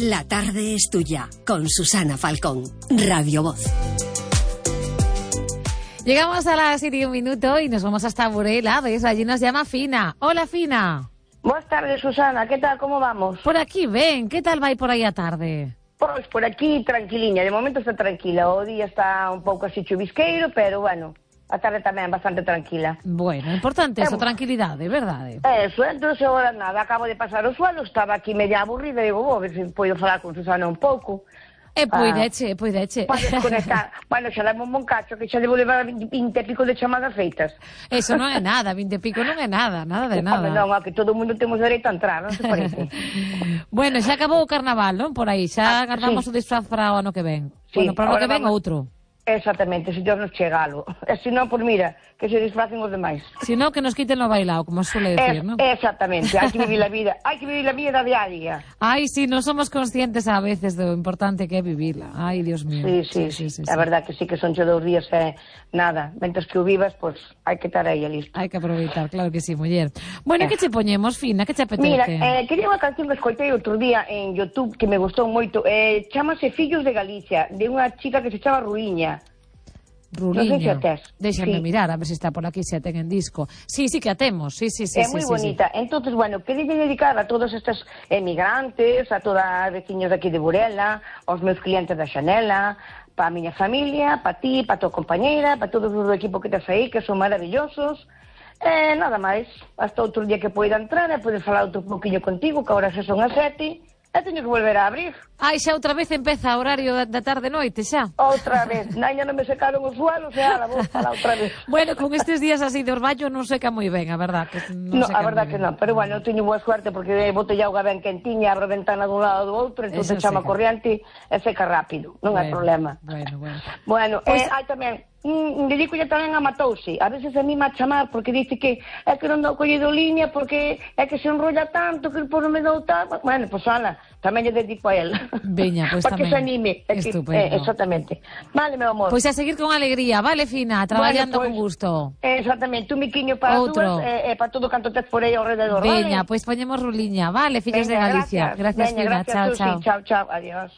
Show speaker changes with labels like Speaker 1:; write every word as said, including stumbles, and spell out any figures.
Speaker 1: La tarde es tuya, con Susana Falcón, Radio Voz.
Speaker 2: Llegamos a las siete y un minuto y nos vamos hasta Burela, ¿ves? Allí nos llama Fina. Hola, Fina.
Speaker 3: Buenas tardes, Susana. ¿Qué tal? ¿Cómo vamos?
Speaker 2: Por aquí, ven. ¿Qué tal va a ir por aí a tarde?
Speaker 3: Pois por aquí tranquiliña. De momento está tranquila. O día está un pouco así chuvisqueiro, pero bueno, a tarde tamén bastante tranquila.
Speaker 2: Bueno, importante eso, tranquilidade, verdade?
Speaker 3: Eso, entonces agora nada, acabo de pasar o suelo, estaba aquí media aburrida e digo, vou ver se podo falar con Susana un pouco.
Speaker 2: E poideche, poideche.
Speaker 3: Para desconectar. Bueno, xa dame un bon cacho, que xa debo levar vinte e pico de chamadas feitas.
Speaker 2: Eso non é nada, vinte e pico non é nada, nada de nada.
Speaker 3: Hombre, non, a que todo o mundo temos dereito a entrar, non se parece?
Speaker 2: Bueno, xa acabou o carnaval, non? Por aí, xa
Speaker 3: Ah,
Speaker 2: agardamos
Speaker 3: sí.
Speaker 2: o disfraz para o ano que ven.
Speaker 3: Sí,
Speaker 2: Bueno, para o ano
Speaker 3: ahora
Speaker 2: que ven
Speaker 3: vamos-
Speaker 2: outro.
Speaker 3: Exactamente, se Dios nos chega algo. E se non, pois mira, que se disfracen os demais.
Speaker 2: Si no, que nos quiten lo bailado, como suele decir,
Speaker 3: Es-
Speaker 2: ¿no?
Speaker 3: Exactamente, hai que vivir la vida, hai que vivir la vida diaria.
Speaker 2: Ay, sí, no somos conscientes a veces de lo importante que é vivirla. Ay, Dios mío.
Speaker 3: Sí, sí, sí, a verdad que sí que son che dous días e nada, mentres que o vivas, pois hai que estar aí listo.
Speaker 2: Hai que aproveitar, claro que sí, muller. Bueno,
Speaker 3: Eh.
Speaker 2: que che poñemos, Fina? Que che apetece?
Speaker 3: Mira, eh, quería unha canción que escoitei outro día en YouTube que me gustou moito, eh, chamase Fillos de Galicia, de unha chica que se chama Ruiña.
Speaker 2: Ruliña.
Speaker 3: non sei se a tes.
Speaker 2: Déxame
Speaker 3: Sí.
Speaker 2: mirar, a ver se está por aquí, se a ten en disco. Sí, sí que a temos, sí, sí, sí.
Speaker 3: É
Speaker 2: sí,
Speaker 3: moi
Speaker 2: sí,
Speaker 3: bonita. Entonces, bueno, quería dedicar a todos estes emigrantes, a todas as veciños daqui de Burela, aos meus clientes da Xanela, para a miña familia, para ti, para a tua compañeira, para todos os do equipo que tes aí, que son maravillosos. E nada máis, hasta outro día que poida entrar e poder falar outro pouquinho contigo, que agora xa son as sete, e teño que volver a abrir.
Speaker 2: Ai, xa outra vez empeza o horario da, da tarde-noite, xa.
Speaker 3: Outra vez. Naña non me secaron os suelos e ala, vou falar outra vez.
Speaker 2: Bueno, con estes días así de orballo non seca moi ben, a verdad. Que non
Speaker 3: No,
Speaker 2: seca
Speaker 3: a verdad
Speaker 2: moi
Speaker 3: que
Speaker 2: ben.
Speaker 3: non, pero bueno, eu teño boa suerte porque botei auga ben quentiña, abro a ventana dun lado do outro, entón
Speaker 2: Eso
Speaker 3: chama
Speaker 2: seca.
Speaker 3: corriente e seca rápido, non hai
Speaker 2: Bueno,
Speaker 3: problema.
Speaker 2: Bueno, bueno.
Speaker 3: Bueno,
Speaker 2: Pois-
Speaker 3: eh, hai tamén, mm, dedicolle tamén a Matouse, a veces a mí a chamar porque dice que é que non dou collido liña porque é que se enrolla tanto que por non me dou tal, bueno, pois ala, tamén lle dedico a él.
Speaker 2: Veña, pois
Speaker 3: para que
Speaker 2: tamén.
Speaker 3: se anime. É que-
Speaker 2: Estupendo.
Speaker 3: eh, exactamente. Vale, meu amor.
Speaker 2: Pois a seguir con alegría, vale, Fina, traballando
Speaker 3: Bueno,
Speaker 2: con
Speaker 3: pois,
Speaker 2: gusto.
Speaker 3: Exactamente, un miquiño para
Speaker 2: Outro.
Speaker 3: dúas e eh, eh, para todo canto tes por aí ao rededor,
Speaker 2: Veña,
Speaker 3: vale?
Speaker 2: pois poñemos Ruliña, vale, fillos de
Speaker 3: Veña,
Speaker 2: Galicia. Gracias,
Speaker 3: Veña,
Speaker 2: Fina,
Speaker 3: gracias,
Speaker 2: chao,
Speaker 3: Susi.
Speaker 2: chao.
Speaker 3: Chao, chao, adiós.